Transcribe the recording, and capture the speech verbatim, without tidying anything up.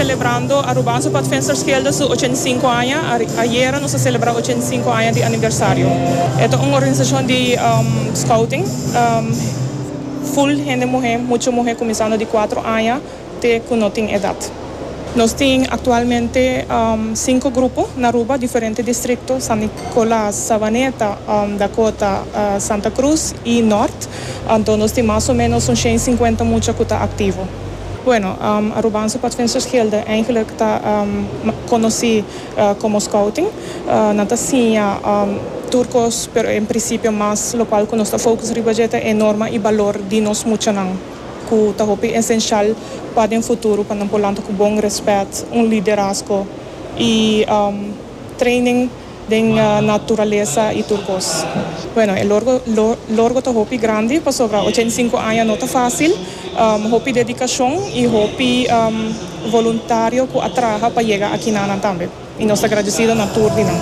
celebrando Arubaanse Padvindersgilde su ochenta y cinco aña. Ayera nos a celebra ochenta y cinco aña di aniversario. E ta un organisacion di um, scouting, um, full hende muhe, mucha muhe cuminsando di cuater aña te cu no tin edad. Nos tin actualmente um, cinco grupo na Aruba, diferente distrito: San Nicolas, Savaneta, um, Dakota, uh, Santa Cruz y Noord. Anto nos tin mas o menos un shen y cincuenta mucha cu ta activo. Bueno, um, Arubaanse Padvindersgilde eigenlijk ta um, conoci uh, como scouting. Uh, nan ta siña um, tur cos, pero en principio mas locual cu nos ta focus riba dje ta e norma y balor di nos muchanan, cu ta hopi esencial pa den futuro, pa nan por lanta cu bon respet, un liderazgo y um, training den uh, naturalesa y tur cos. Bueno, e logro, lo, logro ta hopi grandi, pasobra ochenta y cinco aña no ta facil, um, hopi dedicacion y hopi um, voluntario cu a traha pa yega aki na tambe. Y nos ta agradecido na tur di nan.